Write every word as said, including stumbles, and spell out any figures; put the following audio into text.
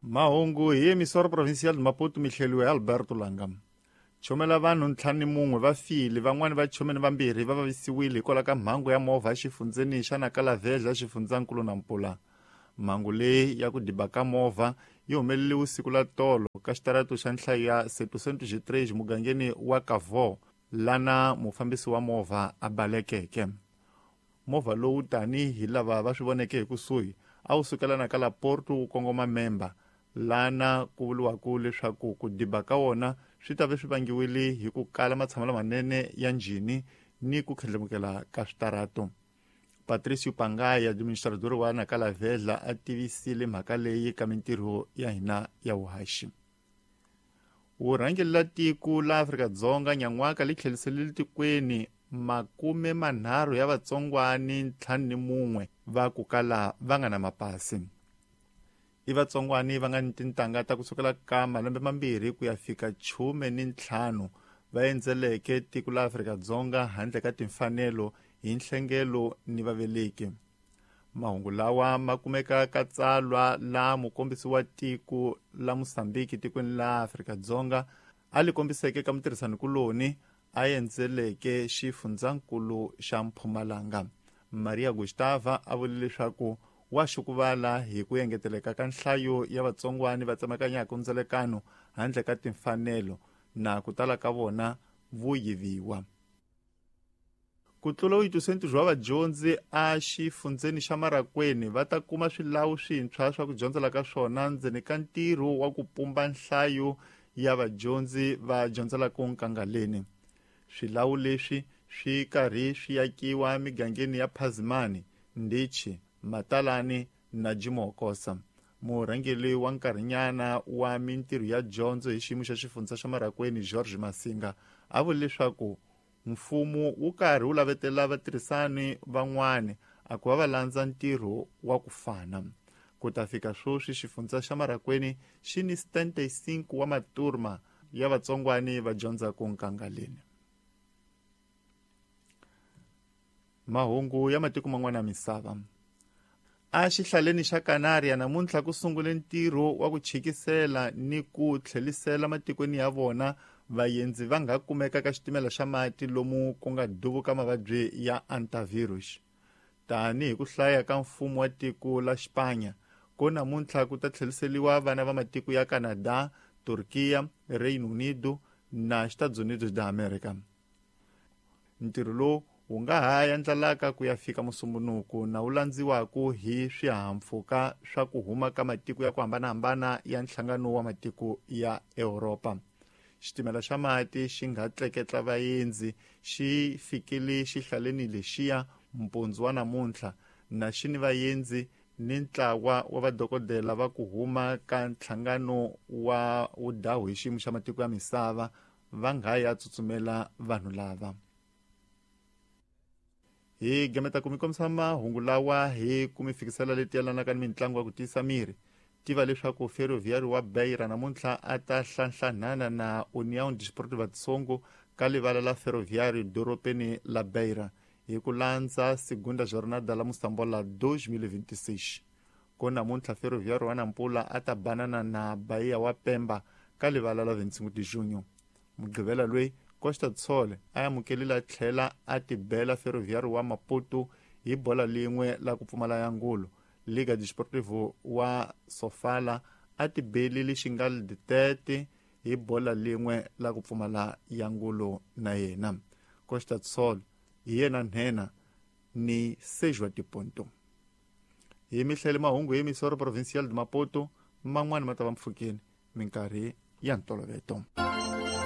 Mahungu hi emisora provincial de Maputo mihleliwe Alberto Langa. Chomela vanhu ntlhanu ni mun'we va file, van'wani va chome ni vambirhi va vavisiwile hikwalaho ka mhangu ya movha exifundzeni xa Nakalavhedla xifundzankulu Nampula. Mhangu leyi ya ku diba ka movha yi humelele vusiku la tolo ka xitarato xa nhlayo ya setecentos e três mugangeni wa Kavo, lana mufambisi wa movha a balekeke. Movha lowu tanihi lava va swi voneke hi kusuhi a wu sukela ka la Porto wu kongoma Memba, lana ku vuriwaka leswaku ku diba ka wona swi ta ve swi vangiwile hi ku kala matshamelo manene ya njhini ni ku khendlamukela ka switarato. Patricio Pangaya, administrador wa Nakalavhedla, a tivisile mhaka leyi ka mintirho ya hina ya vuhaxi. Vurhangeri la tiko la Afrika-Dzonga nyan'waka li tlheliselile tikweni makume manharhu ya vatsongwani ntlhanu ni mun'we va ku kala va nga na mapasi. I vatsongwani va nga ni tintangha ta kusukela ka malembe mambirhi ku ya fika chume ni ntlhanu va endzeleke tiko la Afrika-Dzonga handle ka timfanelo hi nhlengelo ni vaveleki. Mahungu lawa ma kumeka ka tsalwa la mukombisi wa tiko la Mosambiki tikweni la Afrika-Dzonga a li kombiseke ka mutirhisanikuloni a endzeleke xifundzankulu xa Mpumalanga. Maria Gustava a vule leswaku wa xukuvala hi ku engeteleka ka nhlayo ya vatsongwani va tsemakanyaka ndzelekano handle ka timfanelo na ku tala ka vona vo yiviwa. Ku tlula oitocentos wa vadyondzi a xifundzeni xa Marakweni va ta kuma swilawu swintshwa swa ku dyondzela ka swona ndzeni ka ntirho wa ku pumba nhlayo ya vadyondzi va dyondzelaka nkangaleni. Swilawu leswi swi karhi swi akiwa migangeni ya Phazimani, Ndichi, Matalani na Jimokosa. Murhangeri wa nkarhinyana wa mintirho ya dyondzo hi xiyimo xa xifundza xa Marakweni George Masinga a vule leswaku mfumo wu karhi wu lavetela vatirhisani van'wani a ku va va landza ntirho wa ku fana. Ku ta fika sweswi xifundza xa Marakweni xi ni setenta e cinco wa maturma ya vatsongwani va dyondzaka nkangaleni. Mahungu ya matiko man'wana ya misava. A xihlaleni xa Canaria namuntlha ku sungule ntirho wa ku chikisela ni ku tlhelisela matikweni ya vona vaendzi va nga kumeka ka xitimela xa mati lomu ku nga duvuka mavabyi ya antivirus. Tanihi ku hlaya ka mfumo wa tiko la Xipanya, ko namuntlha ku ta tlheliseriwa vana va matiko ya Canada, Turkiya, Reino Unido na Estados Unidos da América. Ntirho lowu wu nga ha endlalaka ku ya fika Musumbunuku na wu landziwaka hi swihahampfhuka swa ku huma ka matiko ya ku hambanahambana ya nhlangano wa matiko ya Europa. Xitimela xa mati xi nga tleketla vaendzi xi fikile xihlaleni lexiya mpundzu wa namuntlha na xi ni vaendzi ni ntlawa wa vadokodela va ku huma ka nhlangano wa wudahu hi xiyimo xa matiko ya misava va nga ya tsutsumela vanhu lava. Hi gameta ku mi kombisa mahungu lawa hi ku mi fikisela leti yelanaka ni mitlangu ya ku tiyisa miri. Tiva leswaku Ferroviário wa Beira namuntlha a ta hlanhlanhana na União Desportiva de Songo ka livala la Ferroviário dorobeni la Beira hi ku landza segunda jornada la Moçambola dois mil e vinte e seis. Ko namuntlha Ferroviário wa Nampula a ta banana na Bahia wa Pemba ka livala la vinte e cinco de junho. Mugqivela loyi Costa do Sol a amukelile tlhela a tibela Ferroviário wa Maputo hi bola lin'we la ku pfumala ya ngulu. Liga Desportivo wa Sofala a tibelile Xingal de Tete hi bola lin'we la ku pfumala ya ngulu na yena. Costa do Sol hi yena nhenha ni seis wa tiponto. Hi mihlele mahungu hi emisoro provincial de Maputo man'wani ma ta va mpfhukeni minkarhi ya ntoloveto.